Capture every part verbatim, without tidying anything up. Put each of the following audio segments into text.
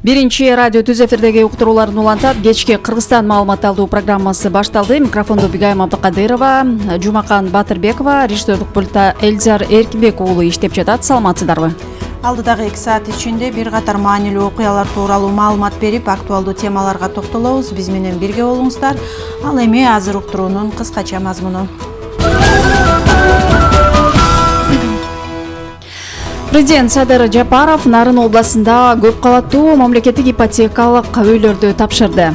Биринчи радио түз эфирдеги уктурууларын улантат. Кечки Кыргызстан маалымат алуу программасы башталды. Микрофондо Бигайым Абдыкадырова, Жумакан Батырбекова, режиссерлук пульта Эльзар Эркинбек уулу иштеп жатат. Саламатсыздарбы? Алдыдагы эки саат ичинде бир катар маанилүү окуялар тууралуу маалымат берип, актуалдуу темаларга токтолобуз. Биз менен бирге болуңуздар. Ал эми азыр уктуруунун кыскача мазмуну. Президент Садыр Жапаров Нарын областында көп кабаттуу мамлекеттик ипотекалык үйлөрдү тапшырды.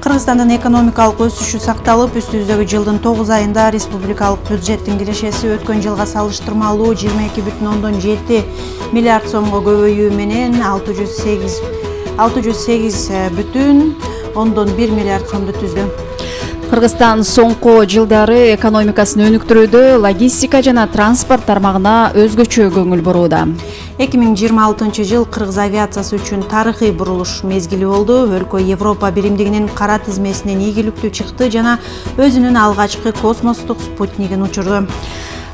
Кыргызстандын экономикалык өсүшү сакталып, үстүбүздөгү жылдын тогуз айында республикалык бюджеттин кирешеси өткөн жылга салыштырмалуу жыйырма эки бүтүн ондон жети миллиард сомго көбөйүү менен алты жүз сегиз бүтүн ондон бир миллиард сомду түздү. Кыргызстан соңку жылдары экономикасын өнүктүрүүдө логистика жана транспорт тармагына өзгөчө көңүл бурууда. эки миң жыйырма алтынчы жыл Кыргыз авиациясы үчүн тарыхый бурулуш мезгили болду. Өлкө Европа биримдигинин кара тизмесинен ийгиликтүү чыкты жана өзүнүн алгачкы космостук спутнигин учурду.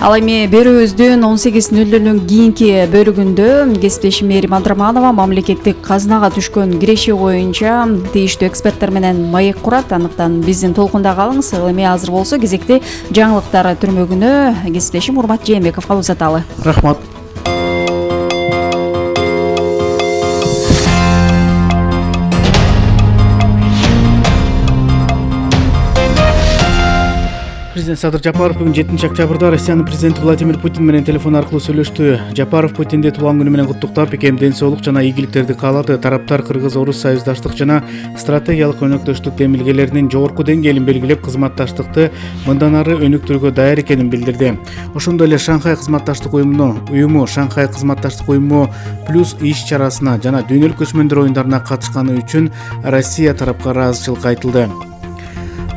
Ал эми берүүбүздүн он сегиз нөл нөлдөн кийинки бөлүгүндө кесиптешим Мээрим Абдраманова мамлекеттик казынага түшкөн киреше боюнча тийиштүү эксперттер менен маек курат. Андыктан биздин толкунда калыңыз. Ал эми азыр болсо кезекти жаңылыктар түрмөгүнө кесиптешим Урмат Жээнбековго узаталы. Рахмат. Президент Садыр Жапаров бүгүн жетинчи октябрда Россиянын президенти Владимир Путин менен телефон аркылуу сүйлөштү. Жапаров Путинди туулган күнү менен куттуктап, икем ден соолук жана ийгиликтерди каалады. Тараптар Кыргыз-Орус союздаштык жана стратегиялык өнөктөштүк демилгелеринин жогорку деңгээлин белгилеп, кызматташтыкты мындан ары өнүктүрүүгө даяр экенин билдирди. Ошондой эле Шанхай кызматташтык уюмуну, уюму Шанхай кызматташтык уюму плюс иш-чарасына жана дүйнөлүк көчмөндөр оюндарына катышканы үчүн Россия тарапка ыраазычылык айтылды.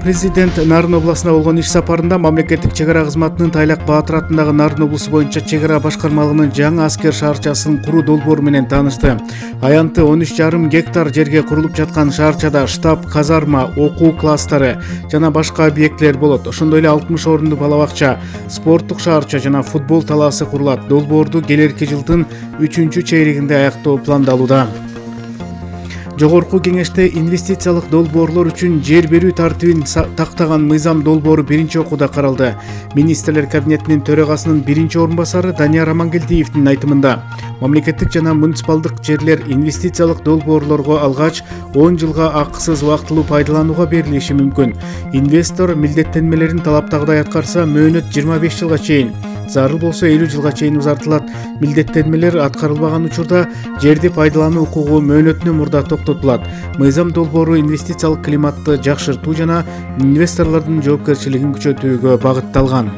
Президент Нарын областына болгон иш сапарында мамлекеттик чек ара кызматынын Тайлак Баатыр атындагы Нарын облусу боюнча чек ара башкармалыгынын жаңы аскер шаарчасын куруу долбоору менен таанышты. Аянты он үч жарым гектар жерге курулуп жаткан шаарчада штаб, казарма, окуу класстары жана башка объектилер болот. Ошондой эле алтымыш орунду бала бакча, спорттук шаарча жана футбол талаасы курулат. Долбоорду келерки жылдын үчүнчү чейрегинде аяктоо пландалууда. Жогорку кеңеште инвестициялык долбоорлор үчүн жер берүү тартибин тактаган мыйзам долбоору биринчи окууда каралды. Министрлер кабинетинин төрагасынын биринчи орун басары Данияр Амангелдиевдин айтымында, мамлекеттик жана муниципалдык жерлер инвестициялык долбоорлорго алгач он жылга акысыз убактылуу пайдаланууга берилиши мүмкүн. Инвестор милдеттенмелерин талаптагыдай аткарса, мөөнөт жыйырма беш жылга чейин, зарыл болсо элүү жылга чейин узартылат. Милдеттенмелер аткарылбаган учурда жерди пайдалануу укугу мөөнөтүнөн мурда токтотулат. Мыйзам долбоору инвестициялык климатты жакшыртуу жана инвесторлордун жоопкерчилигин күчөтүүгө багытталган.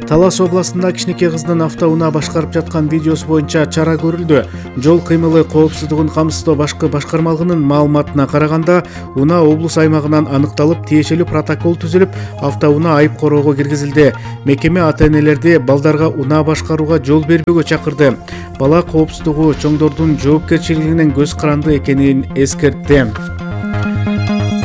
Талас областында кичинекей кыздын автоунаа башкарып жаткан видеосу боюнча чара көрүлдү. Жол кыймылы коопсуздугун камсыздоо башкы башкармалыгынын маалыматына караганда, унаа облус аймагынан аныкталып, тиешелүү протокол түзүлүп, автоунаа айып короого киргизилди. Мекеме ата-энелерди балдарга унаа башкарууга жол бербөөгө чакырды. Бала коопсуздугу чоңдордун жоопкерчилигинен көз каранды экенин эскертти.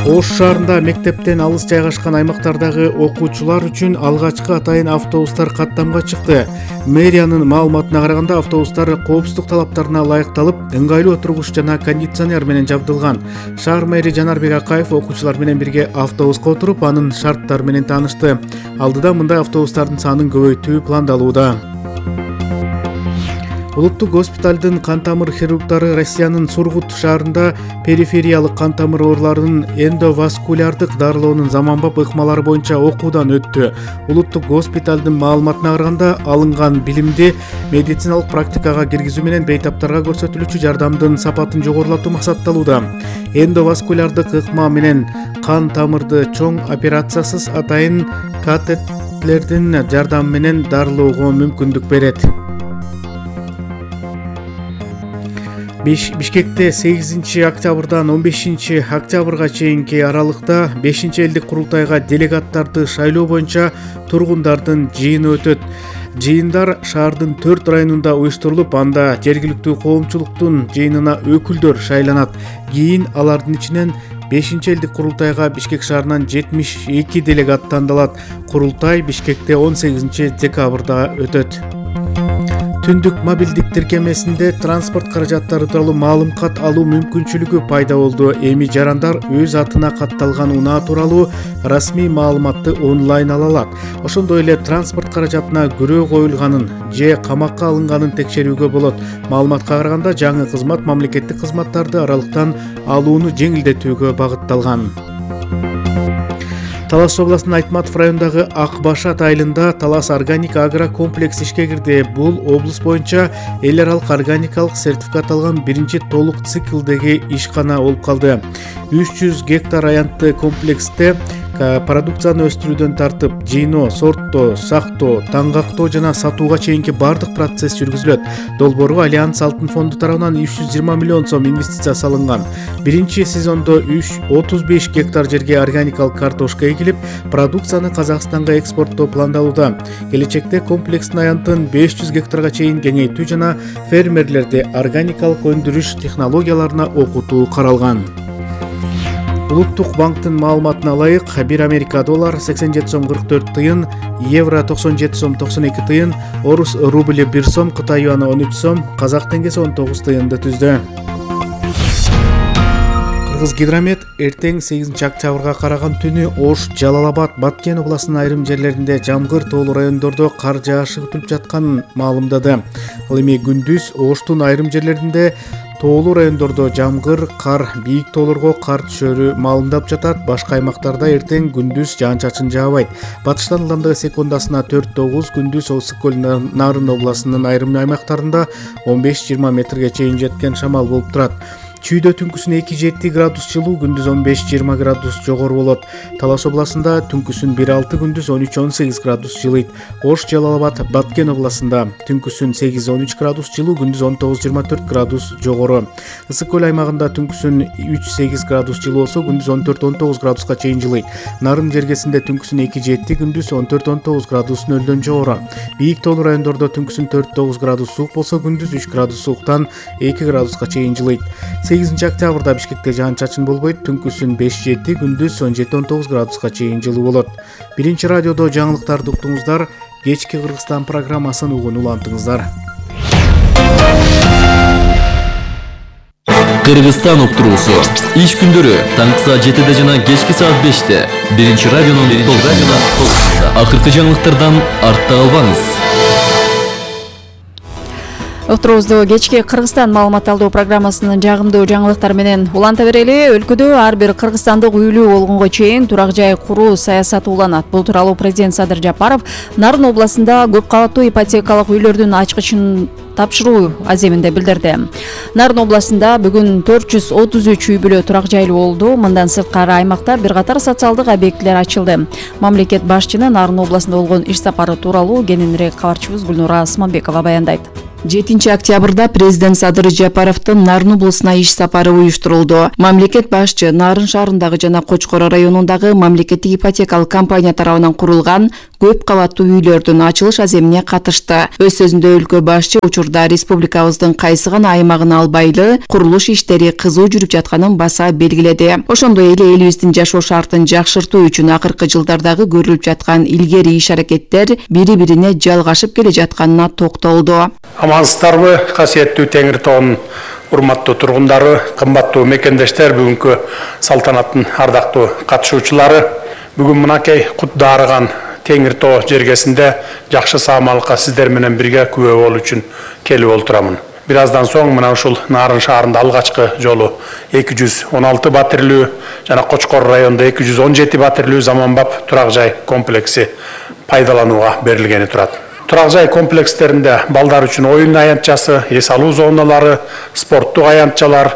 Ош шаарында мектептен алыс жайгашкан аймактардагы окуучулар үчүн алгачкы атайын автобустар каттамга чыкты. Мэриянын маалыматына караганда, автобустар коопсуздук талаптарына ылайыкталып, ыңгайлуу отургуч жана кондиционер менен жабдылган. Шаар мэри Жанарбек Акаев окуучулар менен бирге автобуска отуруп, анын шарттары менен таанышты. Алдыда мындай автобустардын санын көбөйтүү пландалууда. Улуттук госпиталдын кан тамыр хирургдары Россиянын Сургут шаарында перифериялык кан тамыр ооруларынын эндоваскулярдык дарылоонун заманбап ыкмалары боюнча окуудан өттү. Улуттук госпиталдын маалыматына караганда, алынган билимди медициналык практикага киргизүү менен бейтаптарга көрсөтүлүүчү жардамдын сапатын жогорулатуу максатталууда. Эндоваскулярдык ыкма менен кан тамырды чоң операциясыз атайын катетлердин жардамы менен дарылоого мүмкүндүк берет. Бишкекте сегизинчи октябрдан он бешинчи октябрга чейинки аралыкта бешинчи элдик курултайга делегаттарды шайлоо боюнча тургундардын жыйыны өтөт. Жыйындар шаардын төрт районунда уюштурулуп, анда жергиликтүү коомчулуктун жыйынына өкүлдөр шайланат. Кийин алардын ичинен бешинчи элдик курултайга Бишкек шаарынан жетимиш эки делегат тандалат. Курултай Бишкекте он сегизинчи декабрда өтөт. Түндүк мобилдик тиркемесинде транспорт каражаттары тууралуу маалымат алуу мүмкүнчүлүгү пайда болду. Эми жарандар өз атына катталган унаа тууралуу расмий маалыматты онлайн ала алат. Ошондой эле транспорт каражатына күрөө коюлганын же камакка алынганын текшерүүгө болот. Маалыматка караганда жаңы кызмат мамлекеттик кызматтарды аралыктан алууну жеңилдетүүгө багытталган. Талас областынын Айтматов районундагы Ак Башат айылында Талас органик агро комплекс ишке кирди. Бул облус боюнча эл аралык органикалык сертификат алган биринчи толук циклдеги ишкана болуп калды. үч жүз гектар аянтты комплексте продукцияны өстүрүүдөн тартып, жыйноо, сорттоо, сактоо, таңгактоо жана сатууга чейинки бардык процесс жүргүзүлөт. Долбоорго Альянс Алтын фонду тарабынан үч жүз жыйырма миллион сом инвестиция салынган. Биринчи сезондо отуз беш гектар жерге органикалык картошка эгилип, продукцияны Казакстанга экспорттоо пландалууда. Келечекте комплекстин аянтын беш жүз гектарга чейин кеңейтүү жана фермерлерди органикалык өндүрүш технологияларына окутуу каралган. Улуттук банктын маалыматына ылайык, бир Америка доллар сексен жети сом кырк төрт тыйын, евро токсон жети сом токсон эки тыйын, орус рубль бир сом, Кытай юаны он үч сом, казак теңгеси он тогуз тыйынды түздү. Кыргыз гидромет эртең сегизинчи октябрга караган түнү Ош, Жалал Абад, Баткен областынын айрым жерлеринде жамгыр, тоолуу райондордо кар жаашы күтүлүп жатканын маалымдады. Ал эми күндүз Оштун айрым жерлеринде тоолуу райондордо жамгыр, кар, бийик тоолорго кар түшөрү маалымдап жатат. Башка аймактарда эртең күндүз жаан-чачын жаабайт. Батыштан ылдамдыгы секундасына төрт тогуз, күндүз Ысык көл Нарын областынын айрым аймактарында он беш жыйырма метрге чейин жеткен шамал болуп турат. Чүйдө түнкүсүн эки жети градус жылуу, күндүз он беш жыйырма градус жогору болот. Талас областында түнкүсүн бир алты, күндүз он үч он сегиз градус жылыйт. Ош, Жалал Абад, Баткен областында түнкүсүн сегиз он үч градус жылуу, күндүз он тогуз жыйырма төрт градус жогору. Ысык көл аймагында түнкүсүн үч сегиз градус жылуу болсо, күндүз он төрт он тогуз градуска чейин жылыйт. Нарын жергесинде түнкүсүн эки жети, күндүз он төрт он тогуз градус нөлдөн жогору. Бийик тоолуу райондордо түнкүсүн төрт тогуз градус суук болсо, күндүз үч градус сууктан эки градуска чейин жылыйт. сегизинчи октябрда Бишкекте жаан-чачын болбойт, түнкүсүн беш жети, күндүз он жети он тогуз градуска чейин жылуу болот. Биринчи радиодо жаңылыктарды уктуңуздар. Кечки Кыргызстан программасын угуп улантыңыздар. Кыргызстан уктуруусу иш күндөрү таңкы саат жетиде жана кечки саат беште биринчи радионун толкунунда. Акыркы жаңылыктардан артта калбаңыз. Уктуруубузду кечки Кыргызстан маалымат алуу программасынын жагымдуу жаңылыктары менен уланта берели. Өлкөдө ар бир кыргызстандык үйлүү болгонго чейин турак жай куруу саясаты уланат. Бул тууралуу президент Садыр Жапаров Нарын областында көп кабаттуу ипотекалык үйлөрдүн ачкычын тапшыруу аземинде билдирди. Нарын областында бүгүн төрт жүз отуз үч үй бүлө турак жайлуу болду. Мындан сырткары аймакта бир катар социалдык объектилер ачылды. Мамлекет башчынын Нарын областында болгон иш сапары тууралуу кененирээк кабарчыбыз Гүлнура Асманбекова баяндайт. жетинчи октябрда президент Садыр Жапаровдун Нарын облусуна иш сапары уюштурулду. Мамлекет башчы Нарын шаарындагы жана Кочкор районундагы мамлекеттик ипотекалык компания тарабынан курулган көп кабаттуу үйлөрдүн ачылыш аземине катышты. Өз сөзүндө өлкө башчы учурда республикабыздын кайсы гана аймагын албайлы курулуш иштери кызуу жүрүп жатканын баса белгиледи. Ошондой эле элибиздин жашоо шартын жакшыртуу үчүн акыркы жылдардагы көрүлүп жаткан илгери иш-аракеттер бири-бирине жалгашып келе жатканына токтолду. Амансыздарбы, касиеттүү Теңир тоонун урматтуу тургундары, кымбаттуу мекендештер, бүгүнкү салтанаттын ардактуу катышуучулары. Бүгүн мынакей кут дарыган Теңир тоо жергесинде жакшы саамалыкка сиздер менен бирге күбө болуу үчүн келип олтурамын. Бир аздан соң мына ушул Нарын шаарында алгачкы жолу эки жүз он алты батирлүү жана Кочкор районунда эки жүз он жети батирлүү заманбап турак жай комплекси пайдаланууга берилгени турат. Турак жай комплекстеринде балдар үчүн оюн аянтчасы, эс алуу зоналары, спорттук аянтчалар,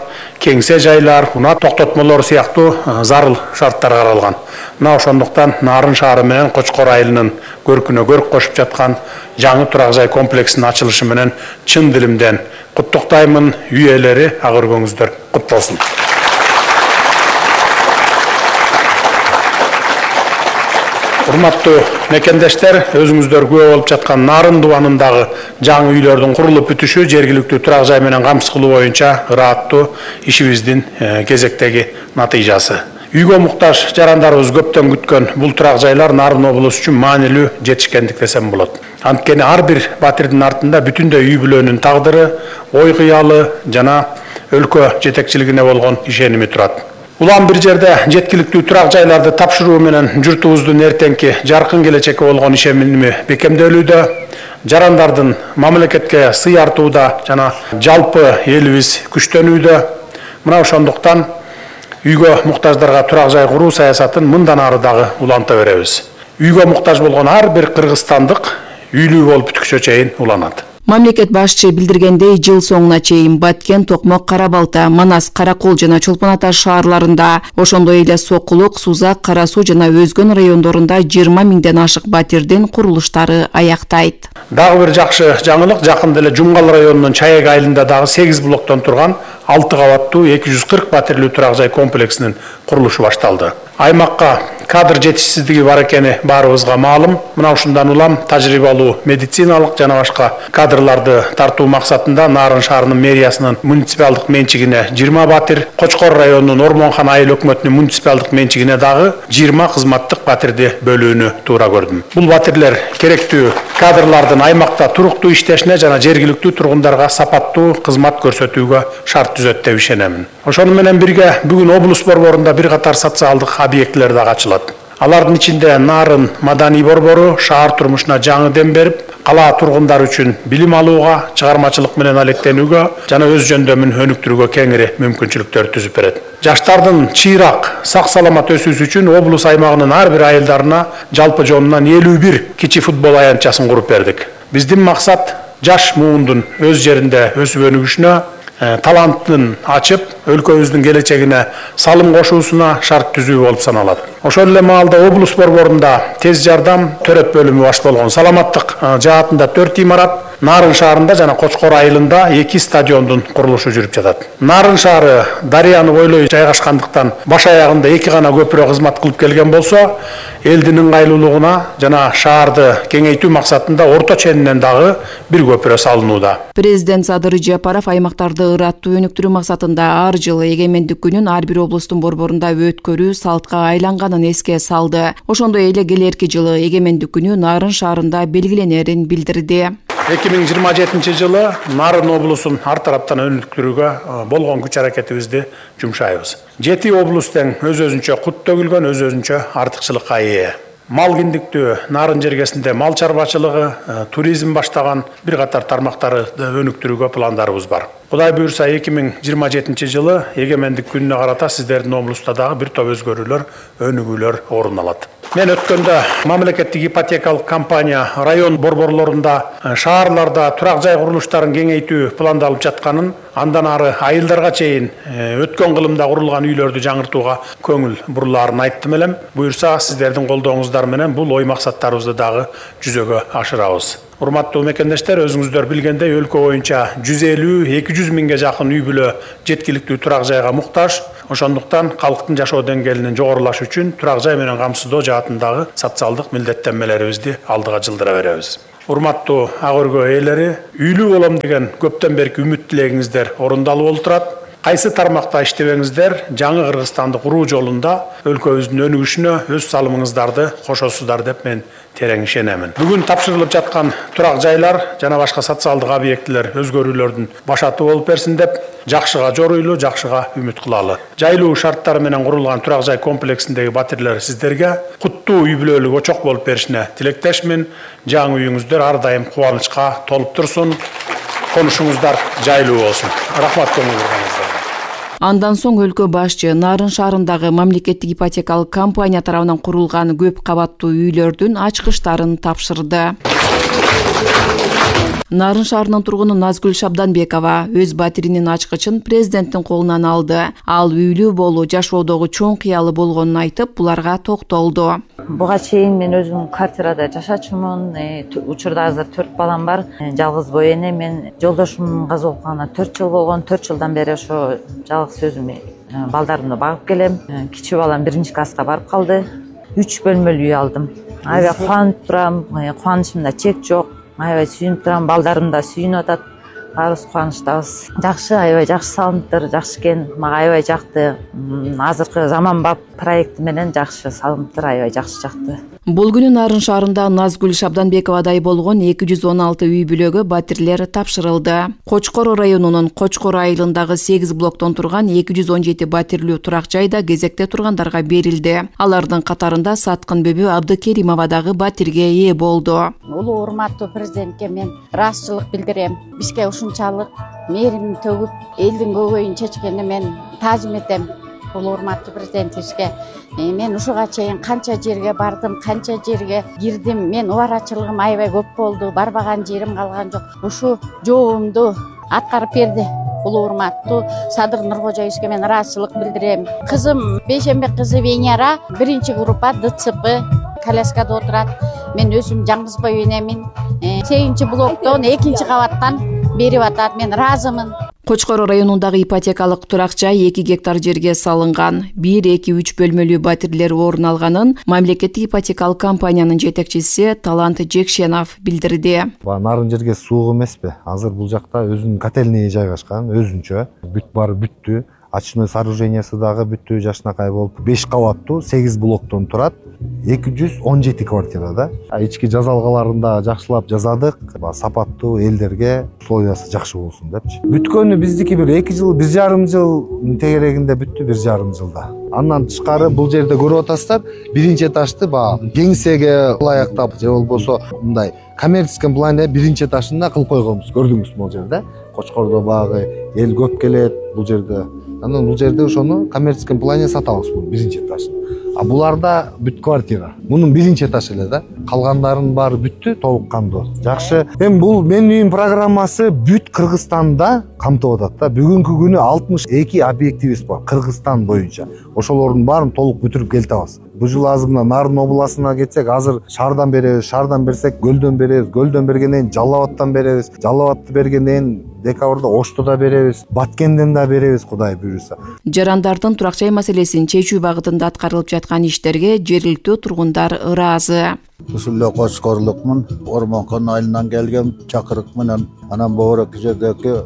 кеңсе жайлар, унаа токтотмолору сыяктуу зарыл шарттар каралган. Мына ошондуктан Нарын шаары менен Кочкор айылынын көркүнө көрк кошуп жаткан жаңы турак жай комплексинин ачылышы менен чын дилимден куттуктаймын. Үй ээлери ак өргөңүздөр кут болсун. Урматтуу мекендештер, өзүңүздөр күбө болуп жаткан Нарын дубанындагы жаңы үйлөрдүн курулуп бүтүшү жергиликтүү турак жай менен камсыз кылуу боюнча ырааттуу ишибиздин кезектеги натыйжасы. Үйгө муктаж жарандарыбыз көптөн күткөн бул турак жайлар Нарын облусу үчүн маанилүү жетишкендик десем болот. Анткени ар бир батирдин артында бүтүндөй үй бүлөнүн тагдыры, ой кыялы жана өлкө жетекчилигине болгон ишеними турат. Улам бир жерде жеткиликтүү турак жайларды тапшыруу менен журтубуздун эртеңки жаркын келечекке болгон ишеними бекемделүүдө, жарандардын мамлекетке сый артууда жана жалпы элибиз күчтөнүүдө. Мына ошондуктан үйгө муктаждарга турак жай куруу саясатын мындан ары дагы уланта беребиз. Үйгө муктаж болгон ар бир кыргызстандык үйлүү болуп бүткүчө чейин уланат. Мамлекет башчы билдиргендей, жыл соңуна чейин Баткен, Токмок, Кара Балта, Манас, Каракол жана Чолпон Ата шаарларында, ошондой эле Сокулук, Сузак, Кара Суу жана өзгөн райондорунда жыйырма миңден ашык батирдин курулуштары аяктайт. Дагы бир жакшы жаңылык, жакында эле Жумгал районунун Чаек айылында дагы сегиз блоктон турган алты кабаттуу эки жүз кырк батирлүү турак жай комплексинин курулушу башталды. Аймакка кадр жетишсиздиги бар экени баарыбызга маалым. Мына ушундан улам тажрыйбалуу медициналык жана башка кадрларды тартуу максатында Нарын шаарынын мэриясынын муниципалдык менчигине жыйырма батир, Кочкор районунун Ормонхан айыл өкмөтүнүн муниципалдык менчигине дагы жыйырма кызматтык батирди бөлүүнү туура көрдүм. Бул батирлер керектүү кадрлардын аймакта туруктуу иштешине жана жергиликтүү тургундарга сапаттуу кызмат көрсөтүүгө шарт түзөт деп ишенемин. Ошону менен бирге бүгүн облус борборунда бир катар социалдык объектилер дагы ачылат. Алардын ичинде Нарын маданий борбору шаар турмушуна жаңы дем берип, кала тургундары үчүн билим алууга, чыгармачылык менен алектенүүгө жана өз жөндөмүн өнүктүрүүгө кеңири мүмкүнчүлүктөр түзүп берет. Жаштардын чыйрак, сак саламат өсүүсү үчүн облус аймагынын ар бир айылдарына жалпы жонунан элүү бир кичи футбол аянтчасын куруп бердик. Биздин максат жаш муундун өз жеринде өсүп өнүгүшүнө, талантын ачып, өлкөбүздүн келечегине салым кошуусуна шарт түзүү болуп саналат. Ошол эле маалда облус борборунда тез жардам төрөт бөлүмү баш болгон. Саламаттык жаатында төрт имарат, Нарын шаарында жана Кочкор айылында эки стадиондун курулушу жүрүп жатат. Нарын шаары дарыяны бойлой жайгашкандыктан баш аягында эки гана көпүрө кызмат кылып келген болсо, элдин ыңгайлуулугуна жана шаарды кеңейтүү максатында орто ченинен дагы бир көпүрө салынууда. Президент Садыр Жапаров аймактарды ыраттуу өнүктүрүү максатында ар жылы эгемендик күнүн ар бир облустун борборунда өткөрүү салтка айланганын эске салды. Ошондой эле келерки жылы эгемендик күнү Нарын шаарында белгиленерин билдирди. эки миң жыйырма жетинчи жылы Нарын облусун ар тараптан өнүктүрүүгө болгон күч аракетибизди жумшайбыз. Жети облус тең өз өзүнчө кут төгүлгөн, өз өзүнчө артыкчылыкка ээ. Мал киндиктүү Нарын жергесинде мал чарбачылыгы, туризм баштаган бир катар тармактарды өнүктүрүүгө пландарыбыз бар. Кудай буюрса эки миң жыйырма жетинчи жылы эгемендик күнүнө карата сиздердин облуста дагы бир топ өзгөрүүлөр, өнүгүүлөр орун алат. Мен өткөндө мамлекеттик ипотекалык компания район борборлорунда, шаарларда турак жай курулуштарын кеңейтүү пландалып жатканын, андан ары айылдарга чейин өткөн кылымда курулган үйлөрдү жаңыртууга көңүл бурулаарын айттым элем. Буюрса сиздердин колдооңуздар менен бул ой максаттарыбызды дагы жүзөгө ашырабыз. Урматтуу мекендештер, өзүңүздөр билгендей өлкө боюнча жүз элүү эки жүз миңге жакын үй бүлө жеткиликтүү турак жайга муктаж. Ошондуктан калктын жашоо деңгээлинин жогорулашы үчүн турак жай менен камсыздоо жаатындагы социалдык милдеттенмелерибизди алдыга жылдыра беребиз. Урматтуу ак өргө ээлери, үйлүү болом деген көптөн берки үмүт тилегиңиздер орундалып олтурат. Кайсы тармакта иштебеңиздер, жаңы Кыргызстанды куруу жолунда өлкөбүздүн өнүгүшүнө өз салымыңыздарды кошосуздар деп мен терең ишенемин. Бүгүн тапшырылып жаткан турак жайлар жана башка социалдык объектилер өзгөрүүлөрдүн башаты болуп берсин деп жакшыга жоруйлуу, жакшыга үмүт кылалы. Жайлуу шарттар менен курулган турак жай комплексиндеги батирлер сиздерге куттуу үй бүлөлүк очок болуп беришине тилектешмин. Жаңы үйүңүздөр ар дайым кубанычка толуп турсун. Конушуңуздар жайлуу болсун. Рахмат көңүл бурганыңыздарга. Андан соң өлкө башчы Нарын шаарындагы мамлекеттик ипотекалык компания тарабынан курулган көп кабаттуу үйлөрдүн ачкычтарын тапшырды. Нарын шаарынын тургуну Назгүл Шабданбекова өз батиринин ачкычын президенттин колунан алды. Ал үйлүү болуу жашоодогу чоң кыялы болгонун айтып, буларга токтолду. Буга чейин мен өзүм квартирада жашачумун. Учурда азыр төрт балам бар. Жалгыз бой эне. Мен жолдошумдун каза болуп калганына төрт жыл болгон. төрт жылдан бери ошо жалгыз өзүм балдарымды багып келем. Кичүү балам биринчи класска барып калды. үч бөлмөлүү үй алдым. Аябай кубанып турам. Кубанычымда чек жок. Аябай сүйүнүп турам, балдарым да сүйүнүп атат. баарыбыз кубанычтабыз. Жакшы, аябай жакшы салымдыр, жакшы экен. Мага аябай жакты. Азыркы заманбап проект менен жакшы салымдыр, аябай жакшы жакты. Бул күнү Нарын шаарында Назгүл Шабданбековадай болгон эки жүз он алты үй бүлөгө батирлер тапшырылды. Кочкор районунун Кочкор айылындагы сегиз блоктон турган эки жүз он жети батирлүү турак жайда кезекте тургандарга берилди. Алардын катарында Саткын Бөбү Абдыкеримова дагы батирге ээ болду. Улуу урматтуу президентке мен ыраазычылык билдирем. Бизге ушунчалык мээрим төгүп, элдин көкөйүн чечкенине мен таазим этем. Улуу урматтуу президентибизге мен ушуга чейин канча жерге бардым, канча жерге кирдим. Мен убарачылыгым аябай көп болду. Барбаган жерим калган жок. Ушу жообумду аткарып берди. Улуу урматтуу Садыр Нуркожоевичке мен ыраазычылык билдирем. Кызым Бейшембек кызы Венера биринчи группа Д Ц П коляскада отурат. Мен өзүм Жаңгызбай энемин. сегизинчи блоктон экинчи кабаттан берип атат. Мен ыраазымын. Кочкор районундагы ипотекалык турак жай эки гектар жерге салынган. бир эки үч бөлмөлүү батирлер орун алганын мамлекеттик ипотекалык компаниянын жетекчиси Талант Жекшенов билдирди. Нарын жерге суук эмеспи? Азыр бул жакта өзүнүн котельный жайгашкан, өзүнчө. Бүт баары бүттү. Очной сооружениясы дагы бүттү, жакшынакай болуп, беш кабаттуу сегиз блоктон турат. эки жүз он жети квартирада. Ички жазалгаларын да жакшылап жазадык. Сапаттуу элдерге условиясы жакшы болсун депчи. Бүткөнү биздики бир эки жыл, бир жарым жыл тегерегинде бүттү, бир жарым жылда. Андан тышкары бул жерде көрүп атасыздар, биринчи этажды баягы кеңсеге ылайыктап же болбосо мындай коммерческий плане биринчи этажында кылып койгонбуз. Көрдүңүз бул жерде. Кочкордо багы эл көп келет бул жерде. Анан бул жерде ошону коммерческий плане сатабыз бул биринчи этажын. А буларда бүт квартира. Мунун биринчи этаж эле да. Калгандарынын баары бүттү, толук кандуу. Жакшы. Эми бул менин үйүм программасы бүт Кыргызстанда камтып атат да. Бүгүнкү күнү алтымыш эки объектибиз бар Кыргызстан боюнча. Ошолордун баарын толук бүтүрүп келтебиз. Бул жыл азыр мына Нарын областына кетсек, азыр шаардан беребиз, шаардан берсек Көлдөн беребиз, Көлдөн бергенден кийин Жалал Абадтан беребиз, Жалал Абадты бергенден кийин декабрда Ошто да беребиз, Баткенден да беребиз, Кудай буйруса. Жарандардын турак жай маселесин чечүү багытында аткарылып жаткан иштерге жергиликтүү тургундар ыраазы. Ушул эле Кочкорлукмун, Ормонкон айылынан келген чакырык менен анан Боорок жердеги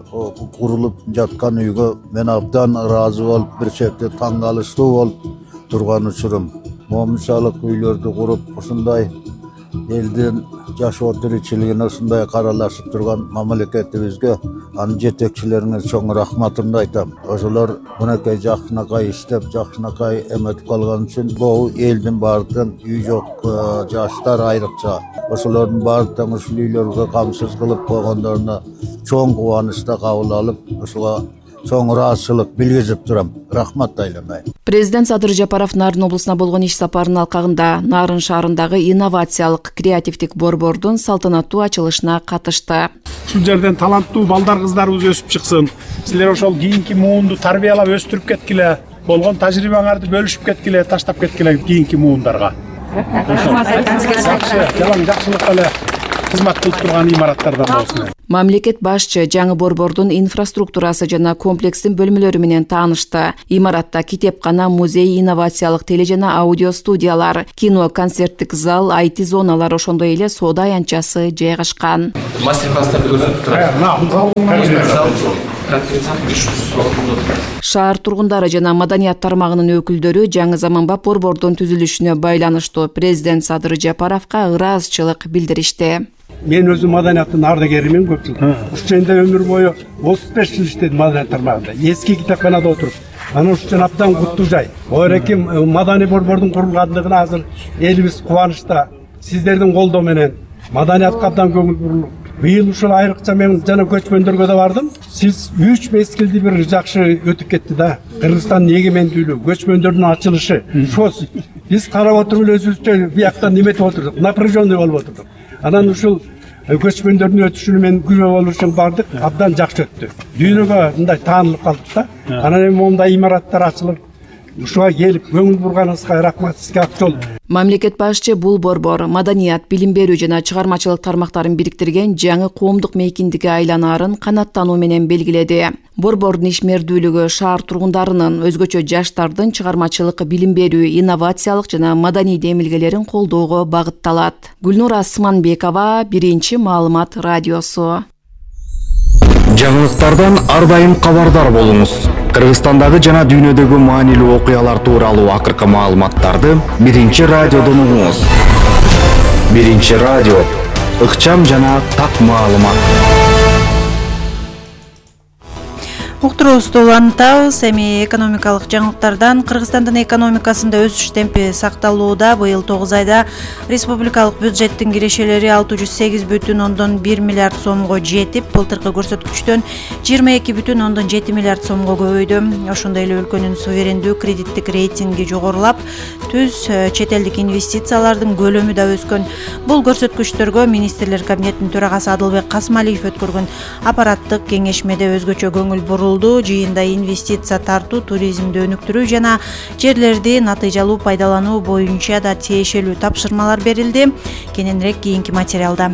курулуп жаткан үйгө мен абдан ыраазы болуп, бир чети таң калыштуу болуп турган учурум. Момунчалык үйлөрдү куруп, ушундай элдин жашоо тиричилигине ушундай каралашып турган мамлекетибизге, анын жетекчилерине чоң рахматымды айтам. Ошолор мынакей жакшынакай иштеп, жакшынакай эметип калган үчүн бул элдин баардыгын үй жок жаштар айрыкча ошолордун баардыгын ушул үйлөргө камсыз кылып койгондоруна чоң кубанычта кабыл алып, ушуга чоң ыраазычылык билгизип турам. Рахмат айламай. Президент Садыр Жапаров Нарын облусуна болгон иш сапарынын алкагында Нарын шаарындагы инновациялык креативдик борбордун салтанаттуу ачылышына катышты. Ушул жерден таланттуу балдар кыздарыбыз өсүп чыксын. Силер ошол кийинки муунду тарбиялап өстүрүп кеткиле. Болгон тажрыйбаңарды бөлүшүп кеткиле, таштап кеткиле кийинки муундарга. Жакшы, жалаң жакшылык эле кызмат кылып турган имараттардан болсун. Мамлекет башчы жаңы борбордун инфраструктурасы жана комплекстин бөлмөлөрү менен таанышты. Имаратта китепкана, музей, инновациялык теле жана аудио студиялар, кино, концерттик зал, ай ти зоналар, ошондой эле соода аянтчасы жайгашкан. Шаар тургундары жана маданият тармагынын өкүлдөрү жаңы заманбап борбордун түзүлүшүнө байланыштуу президент Садыр Жапаровго ыраазычылык билдиришти. Мен өзүм маданияттын ардагеримин көп жыл. Ушул жерде өмүр бою отуз беш жыл иштедим маданият тармагында. Эски китепканада отуруп, анан ушул абдан куттуу жай. Оореки маданий борбордун курулгандыгына азыр элибиз кубанычта. Сиздердин колдоо менен маданиятка абдан көңүл бурулуп, быйыл ушул айрыкча мен жана көчмөндөргө да бардым. Сиз үч мезгилди бир жакшы өтүп кетти да. Кыргызстандын эгемендүүлүгү, көчмөндөрдүн ачылышы. Ошо биз карап отуруп өзүбүзчө биякта неметип отурдук, напряженный болуп отурдук. Анан ушул көчмөндөрдүн өтүшүнө мен күбө болуу үчүн бардык, абдан жакшы өттү. Дүйнөгө мындай таанылып калдык да. Анан эми мондай имараттар ачылып, ушуга келип көңүл бурганыңызга рахмат, сизге ак жол. Мамлекет башчы бул борбор маданият, билим берүү жана чыгармачылык тармактарын бириктирген жаңы коомдук мейкиндикке айланаарын канаттануу менен белгиледи. Борбордун ишмердүүлүгү шаар тургундарынын, өзгөчө жаштардын чыгармачылык, билим берүү, инновациялык жана маданий демилгелерин колдоого багытталат. Гүлнур Асманбекова, Биринчи маалымат радиосу. Жаңылыктардан ар дайым кабардар болуңуз. Кыргызстандагы жана дүйнөдөгү маанилүү окуялар тууралуу акыркы маалыматтарды биринчи радиодон угуңуз. Биринчи радио, ыкчам жана так маалымат. Уктуруубузду улантабыз. Эми экономикалык жаңылыктардан Кыргызстандын экономикасында өсүш темпи сакталууда. Быйыл тогуз айда республикалык бюджеттин кирешелери алты жүз сегиз бүтүн ондон бир миллиард сомго жетип, былтыркы көрсөткүчтөн жыйырма эки бүтүн ондон жети миллиард сомго көбөйдү. Ошондой эле өлкөнүн суверендүү кредиттик рейтинги жогорулап, түз чет элдик инвестициялардын көлөмү да өскөн. Бул көрсөткүчтөргө министрлер кабинетинин төрагасы Адылбек Касмалиев өткөргөн аппараттык кеңешмеде өзгөчө көңүл бурулду. Жыйында инвестиция тартуу, туризмди өнүктүрүү жана жерлерди натыйжалуу пайдалануу боюнча да тиешелүү тапшырмалар берилди. Кененирээк кийинки материалда.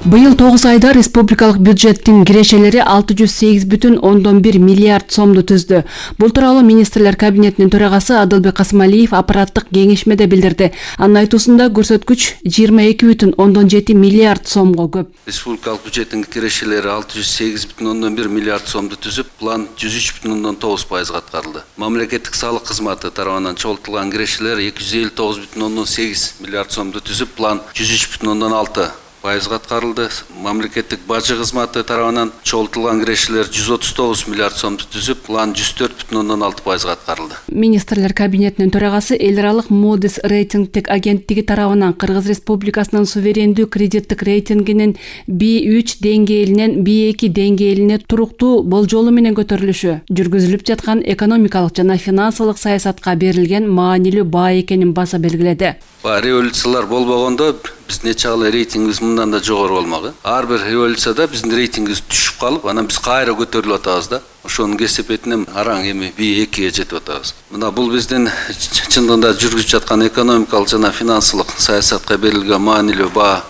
Быйыл тогуз айда республикалык бюджеттин кирешелери алты жүз сегиз бүтүн ондон бир миллиард сомду түздү. Бул тууралуу министрлер кабинетинин төрагасы Адылбек Касмалиев аппараттык кеңешмеде билдирди. Анын айтуусунда көрсөткүч жыйырма эки бүтүн ондон жети миллиард сомго көп. Республикалык бюджеттин кирешелери алты жүз сегиз бүтүн ондон бир миллиард сомду түзүп, план жүз үч бүтүн ондон тогуз пайызга аткарылды. Мамлекеттик салык кызматы тарабынан чогултулган кирешелер эки жүз элүү тогуз бүтүн ондон сегиз миллиард сомду түзүп, план жүз үч бүтүн ондон алты пайызга аткарылды. Мамлекеттик бажы кызматы тарабынан чогултулган кирешелер жүз отуз тогуз миллиард сомду түзүп, план жүз төрт бүтүн ондон алты пайызга аткарылды. Министрлер кабинетинин төрагасы эл аралык Moody's рейтингтик агенттиги тарабынан Кыргыз Республикасынын суверендүү кредиттик рейтингинин би үч деңгээлинен би эки деңгээлине туруктуу болжолу менен көтөрүлүшү жүргүзүлүп жаткан экономикалык жана финансылык саясатка берилген маанилүү баа экенин баса белгиледи. Ба революциялар болбогондо биз нече калы рейтингибиз мындан да жогору болмок. Ар бир революцияда биздин рейтингибиз түшүп калып, анан биз кайра көтөрүлүп атабыз да. Ошонун кесепетинен араң эми би экиге жетип атабыз. Мына бул биздин чындыгында жүргүзүп жаткан экономикалык жана финансылык саясатка берилген маанилүү баа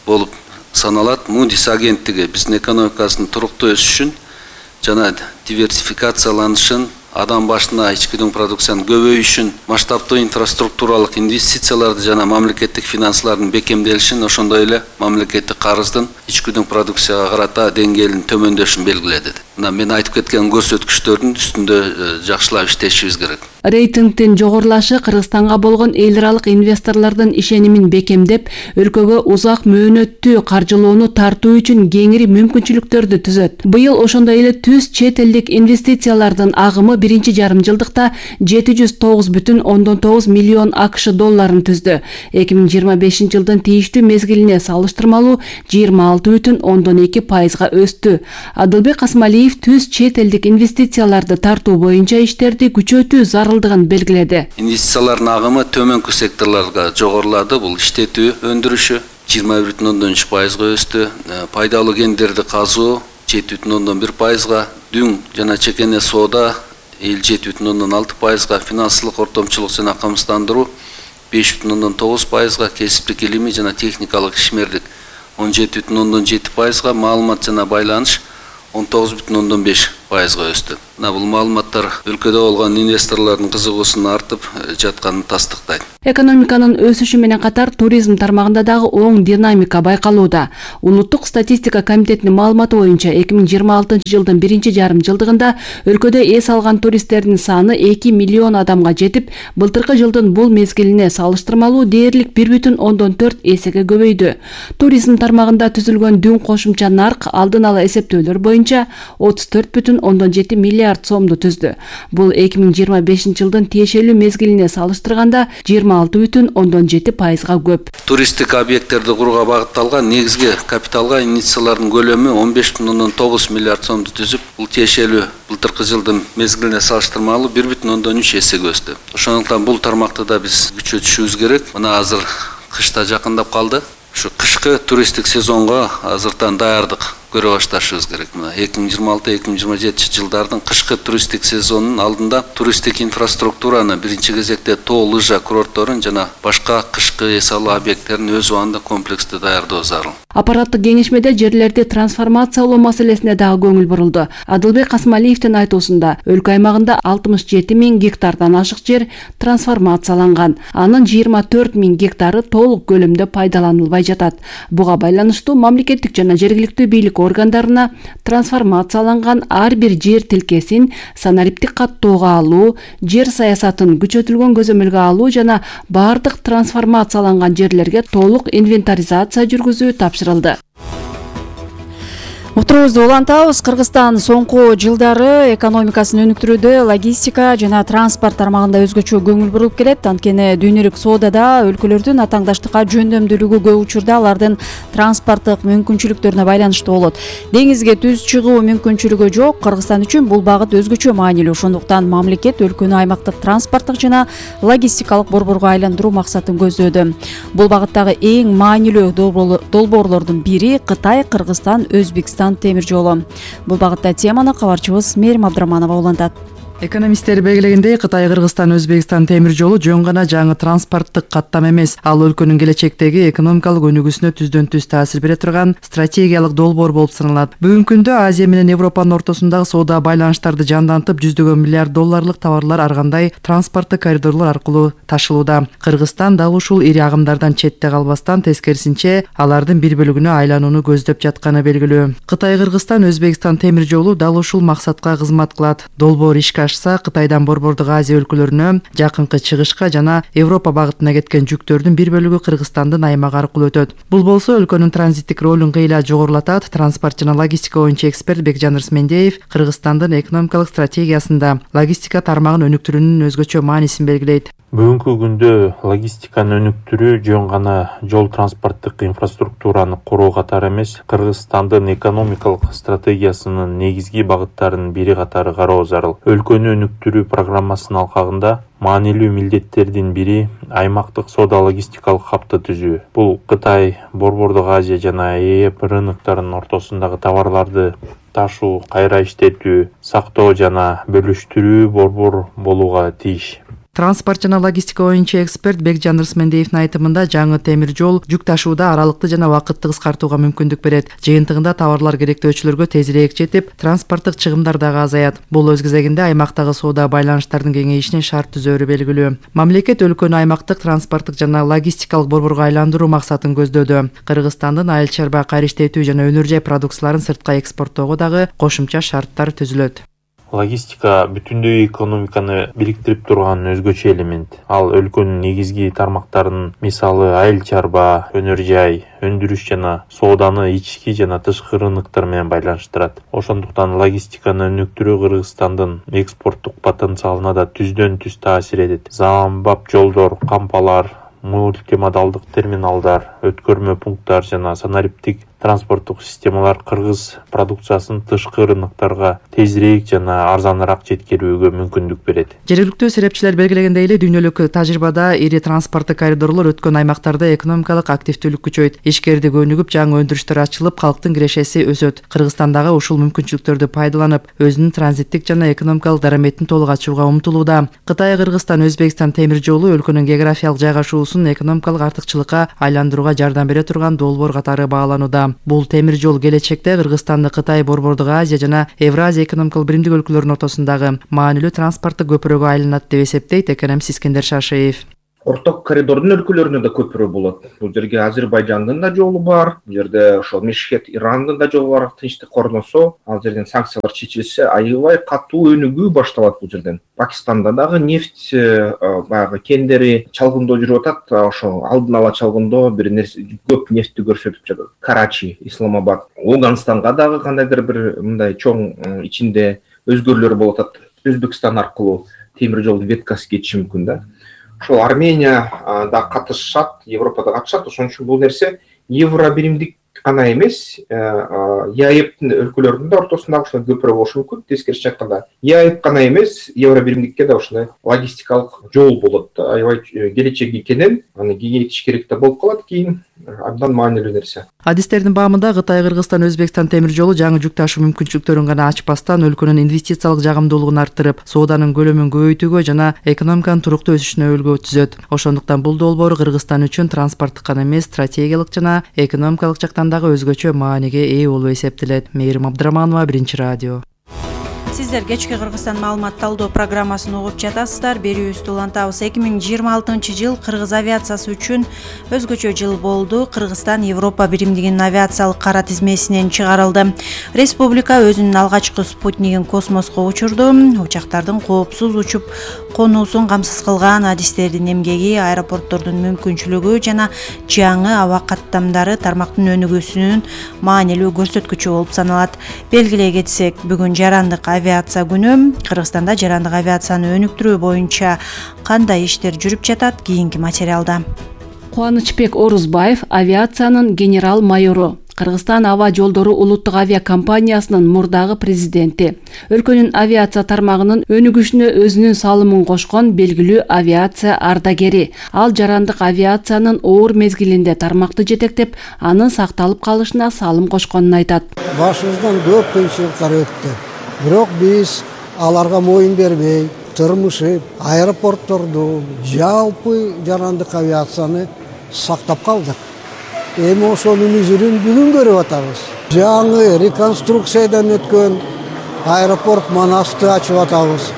болуп саналат. Moody's агенттиги биздин экономикасынын туруктуу өсүшүн жана диверсификацияланышын, адам башына ички дүң продукциянын көбөйүшүн, масштабтуу инфраструктуралык инвестицияларды жана мамлекеттик финансылардын бекемделишин, ошондой эле мамлекеттик карыздын ички дүң продукцияга карата деңгээлинин төмөндөшүн белгиледи. Мына мен айтып кеткен көрсөткүчтөрдүн үстүндө жакшылап иштешибиз керек. Рейтингдин жогорулашы Кыргызстанга болгон эл аралык инвесторлордун ишенимин бекемдеп, өлкөгө узак мөөнөттүү каржылоону тартуу үчүн кеңири мүмкүнчүлүктөрдү түзөт. Быйыл ошондой эле түз чет элдик инвестициялардын агымы биринчи жарым жылдыкта жети жүз тогуз бүтүн ондон тогуз миллион АКШ долларын түздү. эки миң жыйырма бешинчи жылдын тийиштүү мезгилине салыштырмалуу жыйырма алты бүтүн ондон эки пайызга өстү. Адылбек Касмалиев түз чет элдик инвестицияларды тартуу боюнча иштерди күчөтүү зарылдыгын белгиледи. Инвестициялардын агымы төмөнкү секторлорго жогорулады. Бул иштетүү өндүрүшү жыйырма бир бүтүн ондон үч пайызга өстү. Пайдалуу кендерди казуу жети бүтүн ондон бир пайызга, дүң жана чекене соода элүү жети бүтүн ондон алты пайызга, финансылык ортомчулук жана камсыздандыруу беш бүтүн ондон тогуз пайызга, кесиптик илимий жана техникалык ишмерлик он жети бүтүн ондон жети пайызга, маалымат жана байланыш он тогуз бүтүн ондон беш пайызга өстү. Мына бул маалыматтар өлкөдө болгон инвесторлордун кызыгуусунун артып жатканын тастыктайт. Экономиканын өсүшү менен катар туризм тармагында дагы оң динамика байкалууда. Улуттук статистика комитетинин маалыматы боюнча эки миң жыйырма алтынчы жылдын биринчи жарым жылдыгында өлкөдө эс алган туристтердин саны эки миллион адамга жетип, былтыркы жылдын бул мезгилине салыштырмалуу дээрлик бир бүтүн ондон төрт эсеге көбөйдү. Туризм тармагында түзүлгөн дүң кошумча нарк алдын ала эсептөөлөр боюнча отуз төрт бүтүн ондон жети миллиард сомду түздү. Бул эки миң жыйырма бешинчи жылдын тиешелүү мезгилине салыштырганда жыйырма алты бүтүн ондон жети пайызга көп. Туристтик объекттерди курууга багытталган негизги капиталга инвестициялардын көлөмү он беш бүтүн ондон тогуз миллиард сомду түзүп, бул тиешелүү былтыркы жылдын мезгилине салыштырмалуу бир бүтүн ондон үч эсеге өстү. Ошондуктан бул тармакты да биз күчөтүшүбүз керек. Мына азыр кыш да жакындап калды. Ушу кышкы туристтик сезонго азыртан даярдык көрө башташыбыз керек. Мына эки миң жыйырма алты эки миң жыйырма жетинчи жылдардын кышкы туристтик сезонунун алдында туристтик инфраструктураны биринчи кезекте тоо лыжа курортторун жана башка кышкы эс алуу объекттерин өз убагында комплекстүү даярдоо зарыл. Аппараттык кеңешмеде жерлерди трансформациялоо маселесине дагы көңүл бурулду. Адылбек Касмалиевдин айтуусунда өлкө аймагында алтымыш жети миң гектардан ашык жер трансформацияланган. Анын жыйырма төрт миң гектары толук көлөмдө пайдаланылбай жатат. Буга байланыштуу мамлекеттик жана жергиликтүү бийлик бийлик органдарына трансформацияланган ар бир жер тилкесин санариптик каттоого алуу, жер саясатын күчөтүлгөн көзөмөлгө алуу жана баардык трансформацияланган жерлерге толук инвентаризация жүргүзүү тапшырылды. Отурубузду улантабыз. Кыргызстан соңку жылдары экономикасын өнүктүрүүдө логистика жана транспорт тармагында өзгөчө көңүл буруп келет. Анткени дүйнөлүк соодада өлкөлөрдүн атаңдаштыкка жөндөмдүүлүгү көп учурда алардын транспорттук мүмкүнчүлүктөрүнө байланыштуу болот. Деңизге түз чыгуу мүмкүнчүлүгү жок. Кыргызстан үчүн бул багыт өзгөчө маанилүү. Ошондуктан мамлекет өлкөнү аймактык транспорттук жана логистикалык борборго айландыруу максатын көздөөдө. Бул багыттагы эң маанилүү долбоорлордун бири Кытай, Кыргызстан, Өзбекстан темир жолу. Бул багытта теманы кабарчыбыз Мерим Абдраманова улантат. Экономисттер белгилегендей, Кытай, Кыргызстан, Өзбекстан темир жолу жөн гана жаңы транспорттук каттам эмес, ал өлкөнүн келечектеги экономикалык өнүгүүсүнө түздөн түз таасир бере турган стратегиялык долбоор болуп саналат. Бүгүнкү күндө Азия менен Европанын ортосундагы соода байланыштарды жандантып, жүздөгөн миллиард долларлык товарлар ар кандай транспорттук коридорлор аркылуу ташылууда. Кыргызстан дал ушул ири агымдардан четте калбастан, тескерисинче алардын бир бөлүгүнө айланууну көздөп жатканы белгилүү. Кытай, Кыргызстан, Өзбекстан темир жолу дал ушул максатка кызмат кылат. Долбоор ишке Кытайдан Борбордук Азия өлкөлөрүнө, жакынкы чыгышка жана Европа багытына кеткен жүктөрдүн бир бөлүгү Кыргызстандын аймагы аркылуу өтөт. Бул болсо өлкөнүн транзиттик ролун кыйла жогорулатат. Транспорт жана логистика боюнча эксперт Бекжан Рысмендеев Кыргызстандын экономикалык стратегиясында логистика тармагын өнүктүрүүнүн өзгөчө маанисин белгилейт. Бүгүнкү күндө логистиканы өнүктүрүү жөн гана жол транспорттук инфраструктураны куруу катары эмес, Кыргызстандын экономикалык стратегиясынын негизги багыттарынын бири катары кароо зарыл. Өлкөнү өнүктүрүү программасынын алкагында маанилүү милдеттердин бири аймактык соода логистикалык хабты түзүү. Бул Кытай, Борбордук Азия жана Е Е рыноктарынын ортосундагы товарларды ташуу, кайра иштетүү, сактоо жана бөлүштүрүү борбор болууга тийиш. Транспорт жана логистика боюнча эксперт Бекжан Рысмендеевдин айтымында жаңы темир жол жүк ташууда аралыкты жана убакытты кыскартууга мүмкүндүк берет. Жыйынтыгында товарлар керектөөчүлөргө тезирээк жетип, транспорттук чыгымдар дагы азаят. Бул өз кезегинде аймактагы соода байланыштардын кеңейишине шарт түзөөрү белгилүү. Мамлекет өлкөнү аймактык транспорттук жана логистикалык борборго айландыруу максатын көздөөдө. Кыргызстандын айыл чарба, кайра иштетүү жана өнөр жай продукцияларын сыртка экспорттоого дагы кошумча шарттар түзүлөт. Логистика бүтүндөй экономиканы бириктирип турган өзгөчө элемент. Ал өлкөнүн негизги тармактарынын, мисалы айыл чарба, өнөр жай, өндүрүш жана сооданы ички жана тышкы рыноктор менен байланыштырат. Ошондуктан логистиканы өнүктүрүү Кыргызстандын экспорттук потенциалына да түздөн түз таасир этет. Заманбап жолдор, кампалар, мультимодалдык терминалдар, өткөрмө пункттар жана санариптик транспорттук системалар кыргыз продукциясын тышкы рынокторго тезирээк жана арзаныраак жеткирүүгө мүмкүндүк берет. Жергиликтүү серепчилер белгилегендей эле, дүйнөлүк тажрыйбада ири транспорттук коридорлор өткөн аймактарда экономикалык активдүүлүк күчөйт, ишкердик өнүгүп, жаңы өндүрүштөр ачылып, калктын кирешеси өсөт. Кыргызстандагы ушул мүмкүнчүлүктөрдү пайдаланып, өзүнүн транзиттик жана экономикалык дараметин толук ачууга умтулууда. Кытай, Кыргызстан, Өзбекстан темир жолу өлкөнүн географиялык жайгашуусун экономикалык артыкчылыкка айландырууга жардам бере турган долбоор катары бааланууда. Бул темир жол келечекте Кыргызстанды Кытай, Борбордук Азия жана Евразия экономикалык биримдик өлкөлөрүнүн ортосундагы маанилүү транспорттук көпүрөгө айланат деп эсептейт экономист Искендер Шашиев. Орток коридордун өлкөлөрүнө да көпүрө болот. Бул жерге Азербайжандын да жолу бар, бул жерде ошол Мешхет, Ирандын да жолу бар. Тынчтык орносо, ал жерден санкциялар чечилсе, аябай катуу өнүгүү башталат бул жерден. Пакистанда дагы нефть баягы кендери чалгындоо жүрүп атат. Ошол алдын ала чалгындоо бир нерсе көп нефтти көрсөтүп жатат. Карачи, Исламабад, Афганстанга дагы кандайдыр бир мындай чоң ичинде өзгөрүүлөр болуп атат. Өзбекстан аркылуу темир жол веткасы кетиши мүмкүн да. Ошол Армения да катышат, Европада катышат. Ошон үчүн бул нерсе евро биримдик гана эмес, ЕАЭптин өлкөлөрүнүн да ортосундагы ошол көпүрө болушу мүмкүн. Тескерисинче айтканда, ЕАЭп гана эмес, евро биримдикке да ошондой логистикалык жол болот. Аябай келечеги экенин, аны кеңейтиш керек да болуп калат кийин. Абдан маанилүү нерсе. Адистердин баамында Кытай, Кыргызстан, Өзбекстан темир жолу жаңы жүк ташуу мүмкүнчүлүктөрүн гана ачпастан, өлкөнүн инвестициялык жагымдуулугун арттырып, сооданын көлөмүн көбөйтүүгө жана экономиканын туруктуу өсүшүнө өбөлгө түзөт. Ошондуктан бул долбоор Кыргызстан үчүн транспорттук гана эмес, стратегиялык жана экономикалык жактан дагы өзгөчө мааниге ээ болуп эсептелет. Мээрим Абдраманова, Биринчи радио. Сиздер кечки Кыргызстан маалымат талдоо программасын угуп жатасыздар. Берүүбүздү улантабыз. эки миң жыйырма алтынчы жыл кыргыз авиациясы үчүн өзгөчө жыл болду. Кыргызстан Европа биримдигинин авиациялык кара тизмесинен чыгарылды. Республика өзүнүн алгачкы спутнигин космоско учурду. Учактардын коопсуз учуп конуусун камсыз кылган адистердин эмгеги, аэропорттордун мүмкүнчүлүгү жана жаңы аба каттамдары тармактын өнүгүүсүнүн маанилүү көрсөткүчү болуп саналат. Белгилей кетсек, бүгүн жарандык авиация күнү. Кыргызстанда жарандык авиацияны өнүктүрүү боюнча кандай иштер жүрүп жатат? Кийинки материалда. Кубанычбек Орузбаев авиациянын генерал майору. Кыргызстан аба жолдору улуттук авиа компаниясынын мурдагы президенти. Өлкөнүн авиация тармагынын өнүгүшүнө өзүнүн салымын кошкон белгилүү авиация ардагери. Ал жарандык авиациянын оор мезгилинде тармакты жетектеп, анын сакталып калышына салым кошконун айтат. Башыбыздан көп кыйынчылыктар өттү. Бирок биз аларга моюн бербей, тырмышып, аэропортторду, жалпы жарандык авиацияны сактап калдык. Эми ошонун үзүрүн бүгүн көрүп атабыз. Жаңы реконструкциядан өткөн аэропорт Манасты ачып атабыз.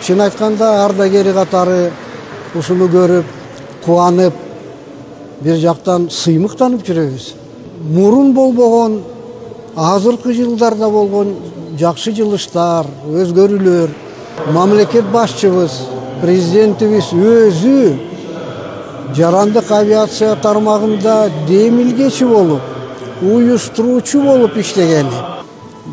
Чын айтканда ардагери катары ушуну көрүп, кубанып, бир жактан сыймыктанып жүрөбүз. Мурун болбогон, азыркы жылдарда болгон жакшы жылыштар, өзгөрүүлөр, мамлекет башчыбыз, президентибиз өзү жарандык авиация тармагында демилгечи болуп, уюштуруучу болуп иштегени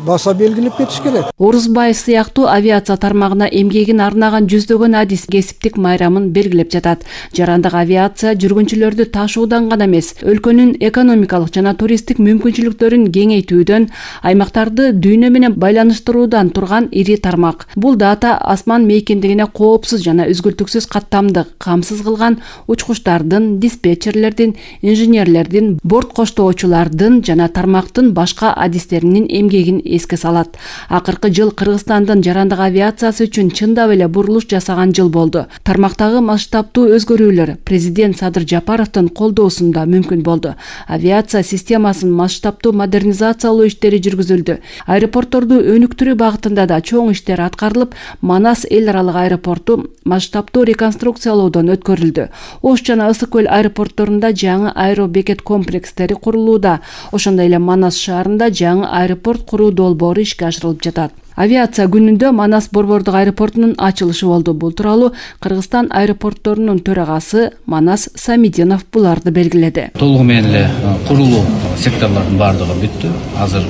баса белгилеп кетиш керек. Орузбаев сыяктуу авиация тармагына эмгегин арнаган жүздөгөн адис кесиптик майрамын белгилеп жатат. Жарандык авиация жүргүнчүлөрдү ташуудан гана эмес, өлкөнүн экономикалык жана туристтик мүмкүнчүлүктөрүн кеңейтүүдөн, аймактарды дүйнө менен байланыштыруудан турган ири тармак. Бул дата асман мейкиндигине коопсуз жана үзгүлтүксүз каттамды камсыз кылган учкучтардын, диспетчерлердин, инженерлердин, борт коштоочулардын жана тармактын башка адистеринин эмгегин эске салат. Акыркы жыл Кыргызстандын жарандык авиациясы үчүн чындап эле бурулуш жасаган жыл болду. Тармактагы масштабтуу өзгөрүүлөр президент Садыр Жапаровдун колдоосунда мүмкүн болду. Авиация системасын масштабтуу модернизациялоо иштери жүргүзүлдү. Аэропортторду өнүктүрүү багытында да чоң иштер аткарылып, Манас эл аралык аэропорту масштабтуу реконструкциялоодон өткөрүлдү. Ош жана Ысык көл аэропортторунда жаңы аэробекет комплекстери курулууда. Ошондой эле Манас шаарында жаңы аэропорт куруу долбоору ишке ашырылып жатат. Авиация күнүндө Манас борбордук аэропортунун ачылышы болду. Бул тууралуу Кыргызстан аэропортторунун төрагасы Манас Самидинов буларды белгиледи. Толугу менен эле курулуу секторлордун баардыгы бүттү. Азыр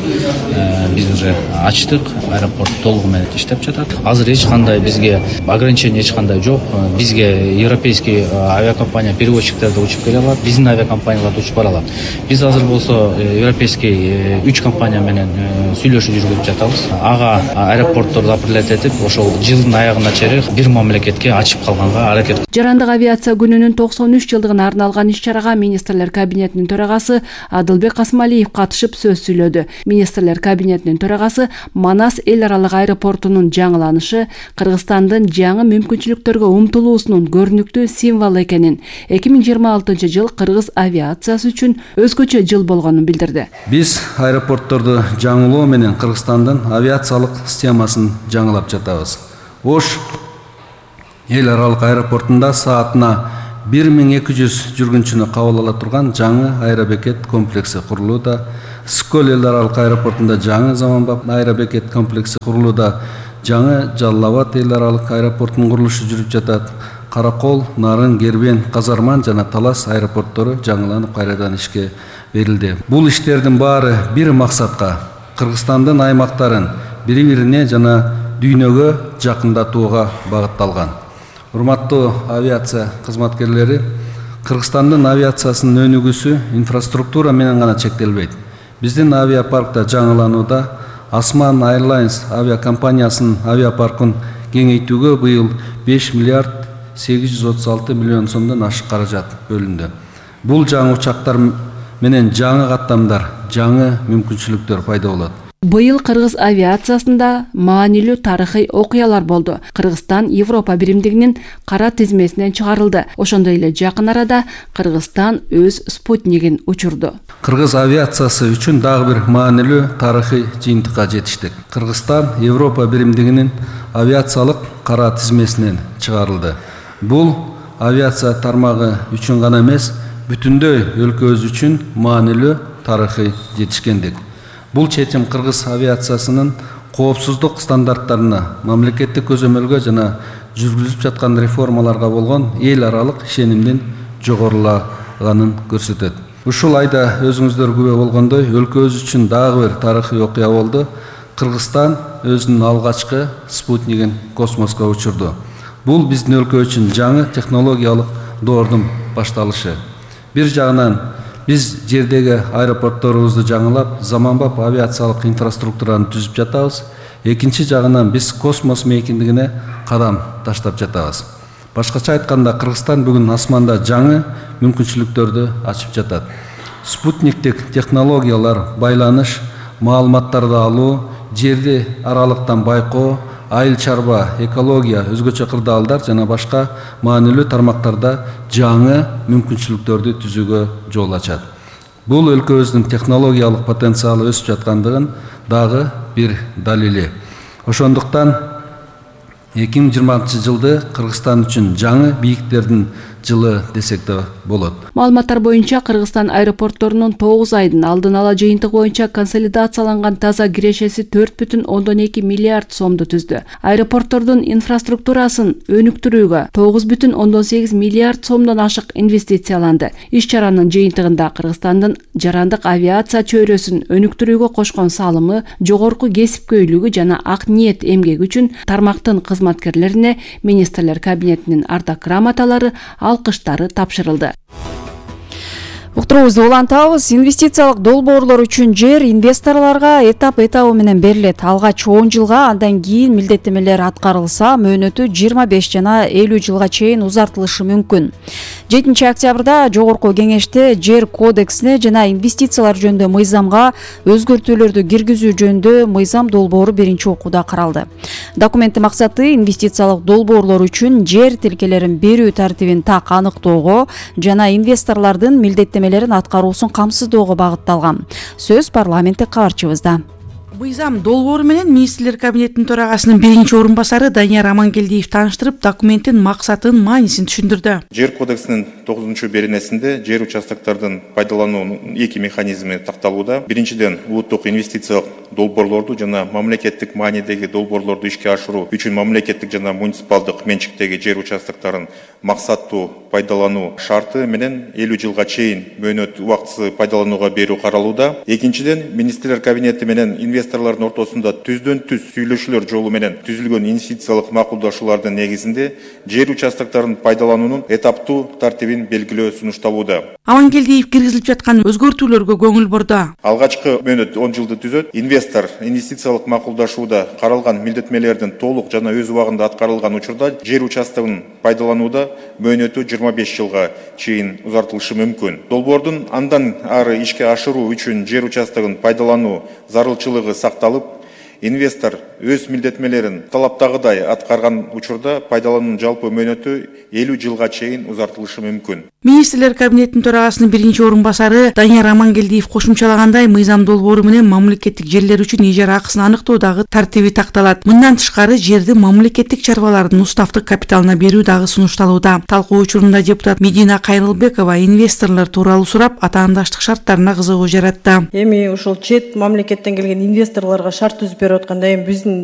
биз уже ачтык, аэропорт толугу менен иштеп жатат. Азыр эч кандай бизге ограничение эч кандай жок. Бизге европейский авиакомпания перевозчиктер да учуп келе алат, биздин авиакомпаниялар да учуп бара алат. Биз азыр болсо европейский үч компания менен сүйлөшүү жүргүзүп жатабыз. Ага аэропортторду апрелет этип, ошол жылдын аягына чейин бир мамлекетке ачып калганга аракет. Жарандык авиация күнүнүн токсон үч жылдыгына арналган иш-чарага министрлер кабинетинин төрагасы Адылбек Касмалиев катышып сөз сүйлөдү. Министрлер кабинетинин төрагасы Манас эл аралык аэропортунун жаңыланышы Кыргызстандын жаңы мүмкүнчүлүктөргө умтулуусунун көрүнүктүү символу экенин, эки миң жыйырма алтынчы жыл кыргыз авиациясы үчүн өзгөчө жыл болгонун билдирди. Биз аэропортторду жаңылоо менен Кыргызстандын авиациялык системасын жаңылап жатабыз. Ош эл аралык аэропортунда саатына бир миң эки жүз жүргүнчүнү кабыл ала турган жаңы аэробекет комплекси курулууда. Ысык көл эл аралык аэропортунда жаңы заманбап аэробекет комплекси курулууда. Жаңы Жалал Абад эл аралык аэропортунун курулушу жүрүп жатат. Каракол, Нарын, Кербен, Казарман жана Талас аэропорттору жаңыланып кайрадан ишке берилди. Бул иштердин баары бир максатка Кыргызстандын аймактарын бири-бирине жана дүйнөгө жакындатууга багытталган. Урматтуу авиация кызматкерлери, Кыргызстандын авиациясынын өнүгүүсү инфраструктура менен гана чектелбейт. Биздин авиапаркта жаңыланууда Осман Airlines авиакомпаниясынын авиапаркын кеңейтүүгө быйыл беш миллиард сегиз жүз отуз алты миллион сомдон ашык каражат бөлүндү. Бул жаңы учактар менен жаңы каттамдар, жаңы мүмкүнчүлүктөр пайда болот. Быйыл кыргыз авиациясында маанилүү тарыхый окуялар болду. Кыргызстан Европа биримдигинин кара тизмесинен чыгарылды. Ошондой эле жакын арада Кыргызстан өз спутнигин учурду. Кыргыз авиациясы үчүн дагы бир маанилүү тарыхый жыйынтыкка жетиштик. Кыргызстан Европа биримдигинин авиациялык кара тизмесинен чыгарылды. Бул авиация тармагы үчүн гана эмес, бүтүндөй өлкөбүз үчүн маанилүү тарыхый жетишкендик. Бул чечим кыргыз авиациясынын коопсуздук стандарттарына, мамлекеттик көзөмөлгө жана жүргүзүлүп жаткан реформаларга болгон эл аралык ишенимдин жогорулаганын көрсөтөт. Ушул айда өзүңүздөр күбө болгондой, өлкөбүз үчүн дагы бир тарыхый окуя болду. Кыргызстан өзүнүн алгачкы спутнигин космоско учурду. Бул биздин өлкө үчүн жаңы технологиялык доордун башталышы. Бир жагынан биз жердеги аэропортторубузду жаңылап, заманбап авиациялык инфраструктураны түзүп жатабыз. Экинчи жагынан биз космос мейкиндигине кадам таштап жатабыз. Башкача айтканда, Кыргызстан бүгүн асманда жаңы мүмкүнчүлүктөрдү ачып жатат. Спутниктик технологиялар, байланыш, маалыматтарды алуу, жерди аралыктан байкоо, айыл чарба, экология, өзгөчө кырдаалдар жана башка маанилүү тармактарда жаңы мүмкүнчүлүктөрдү түзүүгө жол ачат. Бул өлкөбүздүн технологиялык потенциалы өсүп жаткандыгын дагы бир далили. Ошондуктан эки миң жыйырма алтынчы жылды Кыргызстан үчүн жаңы бийиктердин жылы десек да болот. Маалыматтар боюнча Кыргызстан аэропортторунун тогуз айдын алдын ала жыйынтыгы боюнча консолидацияланган таза кирешеси төрт бүтүн ондон эки миллиард сомду түздү. Аэропорттордун инфраструктурасын өнүктүрүүгө тогуз бүтүн ондон сегиз миллиард сомдон ашык инвестицияланды. Иш-чаранын жыйынтыгында Кыргызстандын жарандык авиация чөйрөсүн өнүктүрүүгө кошкон салымы, жогорку кесипкөйлүгү жана ак ниет эмгеги үчүн тармактын кызматкерлерине министрлер кабинетинин ардак грамоталары, алкыштары тапшырылды. Уктуруубузду улантабыз. Инвестициялык долбоорлор үчүн жер инвесторлорго этап этабы менен берилет. Алгач он жылга, андан кийин милдеттемелер аткарылса, мөөнөтү жыйырма беш жана элүү жылга чейин узартылышы мүмкүн. жетинчи октябрда Жогорку кеңеште жер кодексине жана инвестициялар жөнүндө мыйзамга өзгөртүүлөрдү киргизүү жөнүндө мыйзам долбоору биринчи окууда каралды. Документтин максаты инвестициялык долбоорлор үчүн жер тилкелерин берүү тартибин так аныктоого жана инвесторлордун милдеттемелерин аткаруусун камсыздоого багытталган. Сөз парламенттик кабарчыбызда. Мыйзам долбоору менен министрлер кабинетинин төрагасынын биринчи орун басары Данияр Амангелдиев тааныштырып, документтин максатын, маанисин түшүндүрдү. Жер кодексинин тогузунчу беренесинде жер участоктордун пайдалануунун эки механизми такталууда. Биринчиден, улуттук инвестициялык долбоорлорду жана мамлекеттик маанидеги долбоорлорду ишке ашыруу үчүн мамлекеттик жана муниципалдык менчиктеги жер участокторун максаттуу пайдалануу шарты менен элүү жылга чейин мөөнөт убактысы пайдаланууга берүү каралууда. Экинчиден, министрлер кабинети менен инвесторлордун ортосунда түздөн түз сүйлөшүүлөр жолу менен түзүлгөн инвестициялык макулдашуулардын негизинде жер участокторун пайдалануунун этаптуу тартибин белгилөө сунушталууда. Амангелдиев киргизилип жаткан өзгөртүүлөргө көңүл бурду. Алгачкы мөөнөт он жылды түзөт. Инвестор инвестициялык макулдашууда каралган милдеттемелердин толук жана өз убагында аткарылган учурда жер участогун пайдаланууда мөөнөтү жыйырма беш жылга чейин узартылышы мүмкүн. Долбоордун андан ары ишке ашыруу үчүн жер участогун пайдалануу зарылчылыгы сакталып, инвестор өз милдеттемелерин талаптагыдай аткарган учурда пайдалануунун жалпы мөөнөтү элүү жылга чейин узартылышы мүмкүн. Министрлер кабинетинин төрагасынын биринчи орун басары Данияр Амангелдиев кошумчалагандай, мыйзам долбоору менен мамлекеттик жерлер үчүн ижара акысын аныктоодагы тартиби такталат. Мындан тышкары жерди мамлекеттик чарбалардын уставдык капиталына берүү дагы сунушталууда. Талкуу учурунда депутат Медина Кайрылбекова инвесторлор тууралуу сурап, атаандаштык шарттарына кызыгуу жаратты. Эми ушул чет мамлекеттен келген инвесторлорго шарт түзүп берип атканда, эми биздин